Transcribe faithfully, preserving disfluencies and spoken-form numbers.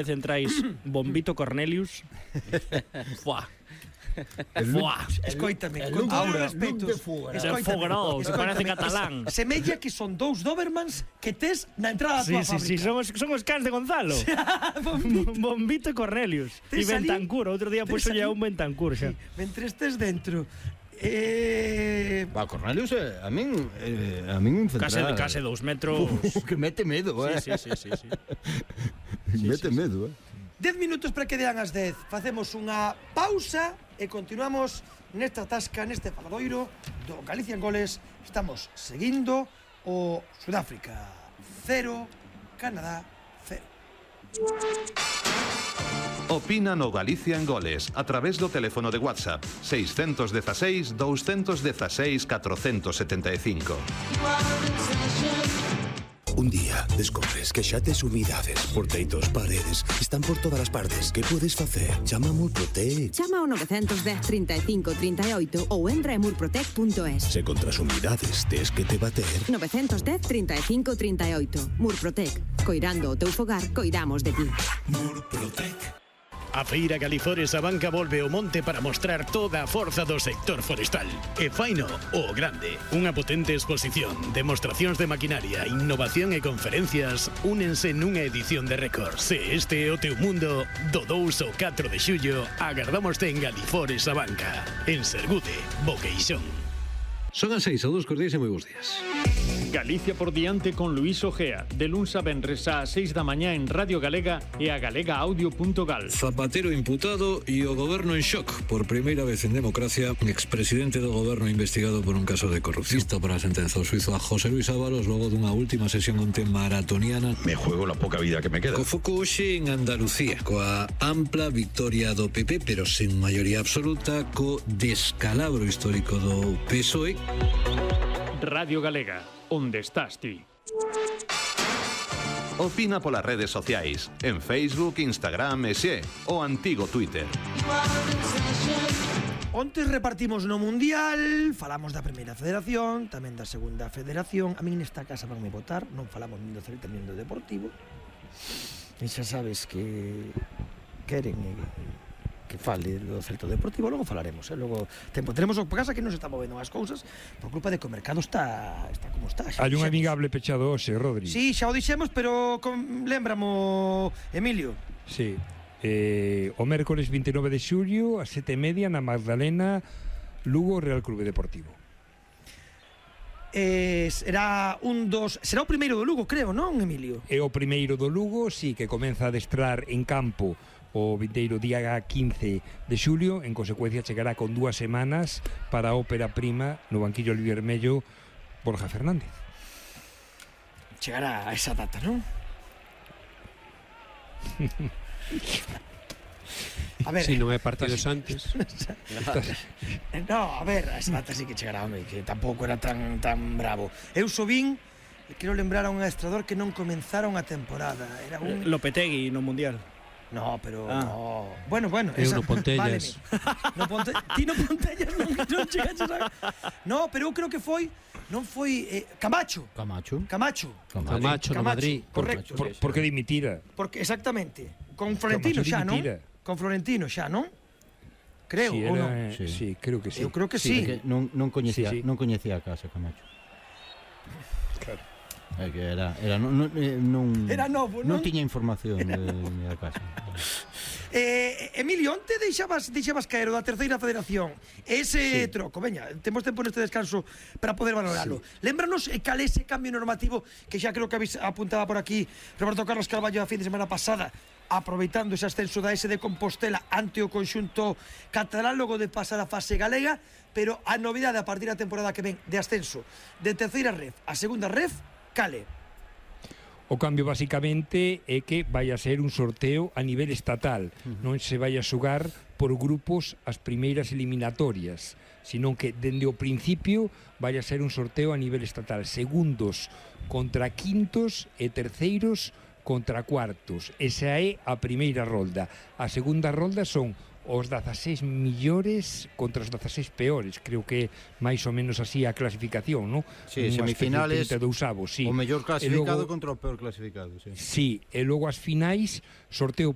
centrais Bombito Cornelius. Fuá. Fuá. Escoítame, el con look- todo Aura, respeto. look de fuga. Es el Fogarol, que parece catalán. Semella que son dous Dobermans que tes na entrada da Sí, tua sí, sí, fábrica. son os, son os cans de Gonzalo. Bombito. Bombito e Cornelius. E Tes ali- Bentancur, outro día tes puxo ya ali- un Bentancur xa. Mentre estés dentro. Eh, Va, Cornelius, eh, a min eh, a min un Case, central. case dous metros. Uh, que mete medo, eh. Sí, sí, sí, sí, sí. Mete sí, sí. medo, eh. dez minutos para que dean as dez. Facemos unha pausa e continuamos nesta tasca, neste faladoiro do Galicia en Goles. Estamos seguindo o Sudáfrica cero, Canadá cero. Opina no Galicia en Goles a través do teléfono de WhatsApp seis uno seis, dous uno seis, catro sete cinco. Un día descobres que xa tes humidades por teitos, paredes, están por todas as partes. Que podes facer? Chama a Murprotec. Chama ao nove un cero, trinta e cinco, trinta e oito ou entra en murprotec punto es. Se contra as humidades tes que te bater. nove un cero, trinta e cinco, trinta e oito. Murprotec. Coirando o teu fogar, coidamos de ti. Murprotec. A Feira Galifores a Banca volve ao monte para mostrar toda a forza do sector forestal. E faino o grande. Unha potente exposición, demostracións de maquinaria, innovación e conferencias únense nunha edición de récord. Se este é o teu mundo, do dous ao catro de xullo, agardámoste en Galifores a Banca. En Sergude, Boqueixón. Son as seis, saúdos cordiais e moi bons días. Galicia por diante con Luís Ojea, de luns a venres ás seis da mañá en Radio Galega e a galega audio punto gal. Zapatero imputado e o goberno en shock. Por primeira vez en democracia, expresidente do goberno investigado por un caso de corrupción. Para a sentenza o suizo a José Luis Ábalos logo dunha última sesión onte maratoniana. Me juego la poca vida que me queda. Co foco hoxe en Andalucía, coa ampla victoria do P P, pero sen maioría absoluta, co descalabro histórico do P S O E. Radio Galega, onde estás ti? Opina polas redes sociais, en Facebook, Instagram e xe, o antigo Twitter. Ontes repartimos no Mundial, falamos da primeira federación, tamén da segunda federación. A min nesta casa vanme votar, non falamos nin do Celta nin do Deportivo. E xa sabes que queren eh, que fale do Celta Deportivo, logo falaremos, eh? Logo tempo teremos o casa que non se está movendo as cousas por culpa de que o mercado está está como está. Hai un amigable pechado hoxe, Rodri. Sí, xa o dixemos, pero con, lembramo, Emilio. Sí. Eh, o mércoles vinte e nove de xullo a sete e media na Magdalena, Lugo Real Clube Deportivo. Eh, será un dos, será o primeiro do Lugo, creo, non, Emilio? É o primeiro do Lugo, sí, que comeza a adestrar en campo o vindeiro día quince de xulio. En consecuencia chegará con dúas semanas para a ópera prima no banquillo albivermello Borja Fernández. Chegará a esa data, non? A ver, si non é partidos antes. No, a ver, a esa data sí que chegará, home, que tampouco era tan tan bravo. Eu subín, e quero lembrar a un adestrador que non comenzaron a temporada. Era un Lopetegui no Mundial. No, pero ah. no. Bueno, bueno, eu no Pontellas. Vale, no Ponte... Ti no Pontellas non, non chegaches a... No, pero eu creo que foi non foi eh, Camacho. Camacho. Camacho. Camacho, Camacho no Madrid. Correcto. Por, por que dimitira? Porque exactamente. Con Florentino xa, non? Con Florentino xa, non? Creo, sí, ou era, non? eh, sí. sí, creo que sí. Eu creo que sí. sí. Que non, non coñecía, sí, sí. non coñecía a casa Camacho. Claro. É que era, era non, non, non, era novo, non? Non tiña información de, de a casa. Eh, Emilio, onte deixabas, deixabas caer o da terceira federación. Ese sí. troco, veña, temos tempo neste descanso para poder valoralo. Sí. Lémbranos eh, cal ese cambio normativo que xa creo que habéis apuntaba por aquí Roberto Carlos Carballo a fin de semana pasada, aproveitando ese ascenso da S de Compostela ante o conxunto catalán logo de pasar a fase galega, pero a novidade a partir da temporada que ven de ascenso de terceira ref a segunda ref, cale? O cambio basicamente é que vai a ser un sorteo a nivel estatal, uh-huh. non se vai a xogar por grupos as primeiras eliminatorias, sino que dende o principio vai a ser un sorteo a nivel estatal, segundos contra quintos e terceiros contra cuartos. Esa é a primeira rolda. A segunda rolda son os dezaseis millores contra os dezaseis peores. Creo que máis ou menos así a clasificación, non? Sí, semifinales, avos, sí. O mellor clasificado logo, contra o peor clasificado, sí. Sí, e logo as finais, sorteo